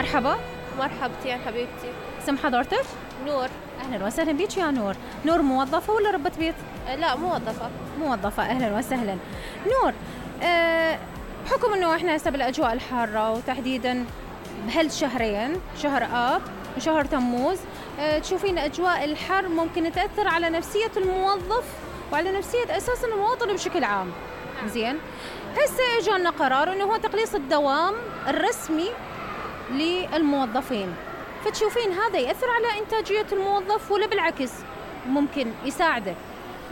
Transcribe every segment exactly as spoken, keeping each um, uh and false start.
مرحبا. مرحبتين حبيبتي. اسم حضرتك؟ نور. أهلا وسهلا بيك يا نور. نور موظفة ولا ربة بيت؟ أه لا موظفة. موظفة، أهلا وسهلا. نور، أه بحكم أنه إحنا هسه بالأجواء الحارة وتحديدا بهالشهرين، شهر آب وشهر تموز، أه تشوفين أجواء الحر ممكن تأثر على نفسية الموظف وعلى نفسية أساسا المواطن بشكل عام. زين، هسه اجانا قرار انه هو تقليص الدوام الرسمي للموظفين، فتشوفين هذا يأثر على إنتاجية الموظف ولا بالعكس ممكن يساعده؟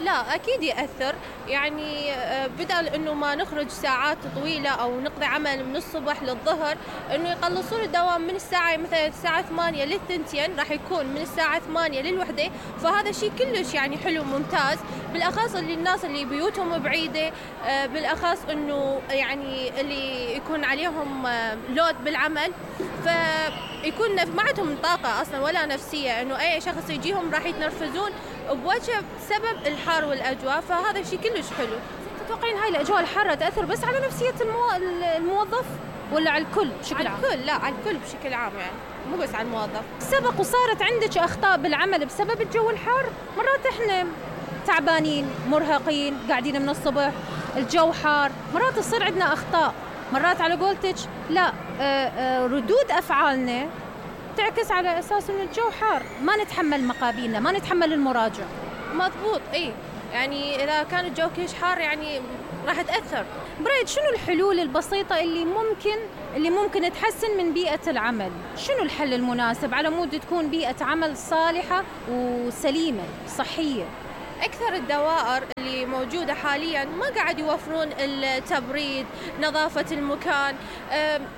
لا أكيد يأثر، يعني بدل إنه ما نخرج ساعات طويلة أو نقضي عمل من الصبح للظهر، إنه يقلصون الدوام من الساعة مثلا الساعة ثمانية للثنتين، راح يكون من الساعة ثمانية للوحدة، فهذا شيء كلش يعني حلو ممتاز، بالأخص اللي الناس اللي بيوتهم بعيدة، بالأخص إنه يعني اللي يكون عليهم لود بالعمل، فيكون ما عندهم طاقة أصلا ولا نفسية، إنه أي شخص يجيهم راح يتنرفزون بوجه بسبب الحر والأجواء، فهذا الشيء كلش حلو. تتوقعين هاي الأجواء الحارة تأثر بس على نفسية المو... الموظف ولا على الكل بشكل عام؟ على الكل، لا على الكل بشكل عام، يعني مو بس على الموظف. سبق وصارت عندك أخطاء بالعمل بسبب الجو الحار؟ مرات إحنا تعبانين مرهقين قاعدين من الصبح، الجو حار، مرات تصير عندنا أخطاء، مرات على قولتك لا آآ آآ ردود أفعالنا تعكس على أساس إن الجو حار، ما نتحمل مقابلنا، ما نتحمل المراجع. مضبوط، إيه يعني إذا كان الجو كيش حار يعني راح تأثر. برأيك شنو الحلول البسيطة اللي ممكن اللي ممكن تحسن من بيئة العمل؟ شنو الحل المناسب على مود تكون بيئة عمل صالحة وسليمة صحية؟ أكثر الدوائر اللي موجودة حالياً ما قاعد يوفرون التبريد، نظافة المكان،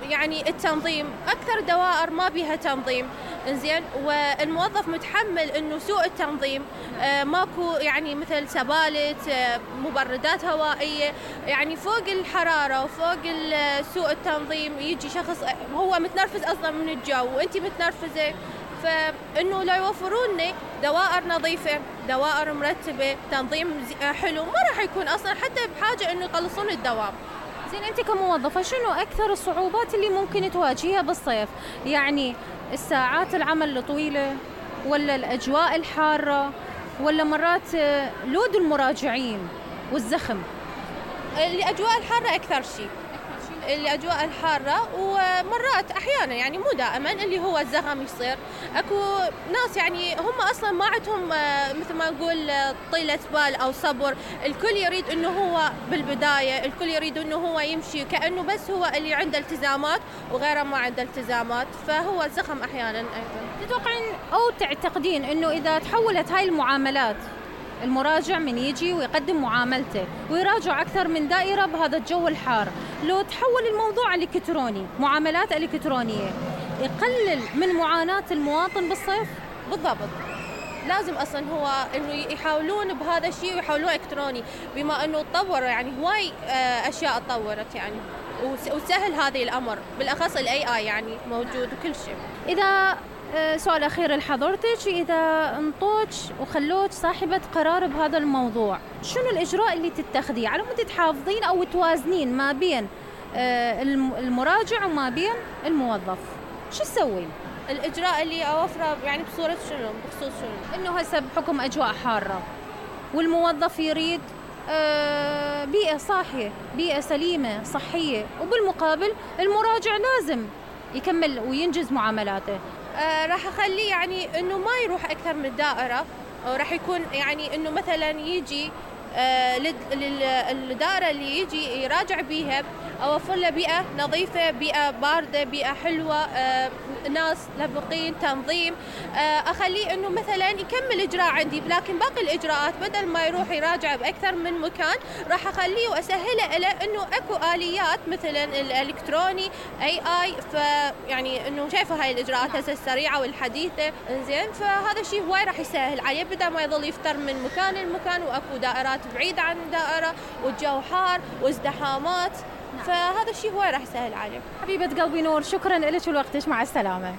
يعني التنظيم، أكثر دوائر ما بيها تنظيم، إنزين، والموظف متحمل إنه سوء التنظيم، ماكو يعني مثل سبالت، مبردات هوائية، يعني فوق الحرارة وفوق سوء التنظيم يجي شخص هو متنرفز أصلاً من الجو وأنتي متنرفزة، فإنه لا يوفرون دوائر نظيفة، دوائر مرتبة، تنظيم حلو، ما راح يكون أصلاً حتى بحاجة إنه يقلصون الدوام. زين، أنت كموظفة شنو أكثر الصعوبات اللي ممكن تواجهها بالصيف؟ يعني الساعات العمل الطويلة ولا الأجواء الحارة ولا مرات لود المراجعين والزخم؟ الأجواء الحارة أكثر شيء. الأجواء الحارة، ومرات أحيانا يعني مو دائما اللي هو الزخم يصير، أكو ناس يعني هم أصلا ما عندهم مثل ما نقول طيلة بال أو صبر، الكل يريد إنه هو بالبداية، الكل يريد إنه هو يمشي كأنه بس هو اللي عنده التزامات وغيره ما عنده التزامات، فهو الزخم أحيانا أيضا. تتوقعين أو تعتقدين إنه إذا تحولت هاي المعاملات، المراجع من يجي ويقدم معاملته ويراجع أكثر من دائرة بهذا الجو الحار، لو تحول الموضوع الإلكتروني، معاملات إلكترونية، يقلل من معاناة المواطن بالصيف؟ بالضبط، لازم أصلا هو إنه يحاولون بهذا الشيء ويحاولون إلكتروني، بما إنه تطوروا يعني هواي أشياء تطورت يعني وسهل هذه الأمر، بالأخص ال إيه آي يعني موجود وكل شيء. إذا سؤال أخير لحضرتك، إذا انطوك وخلوك صاحبة قرار بهذا الموضوع، شنو الإجراء اللي تتخذيه على مود تحافظين أو توازنين ما بين المراجع وما بين الموظف؟ شو تسوين؟ الإجراء اللي أوفره يعني بصورة شنو؟ بخصوص شنو؟ إنه هسه بحكم أجواء حارة والموظف يريد بيئة صاحية، بيئة سليمة صحية، وبالمقابل المراجع لازم يكمل وينجز معاملاته. آه راح أخليه يعني إنه ما يروح أكثر من دائرة، راح يكون يعني إنه مثلا يجي آه للدائرة اللي يجي يراجع بيها، أوفر له بيئة نظيفة، بيئة باردة، بيئة حلوة، آه ناس لبقين، تنظيم، آه أخليه إنه مثلا يكمل إجراء عندي، لكن باقي الإجراءات بدل ما يروح يراجع بأكثر من مكان راح أخليه وأسهله له إنه أكو آليات مثلا الإلكتروني إيه آي، فيعني إنه شايفة هاي الإجراءات هسه السريعة والحديثة، إنزين، فهذا الشيء هواي راح يسهل عليه بدل ما يظل يفتر من مكان لمكان، وأكو دائرات بعيدة عن دائرة والجو حار وازدحامات، فهذا الشيء هو راح يسهل عليه. حبيبة قلبي نور، شكرا لك ولوقتك، مع السلامة.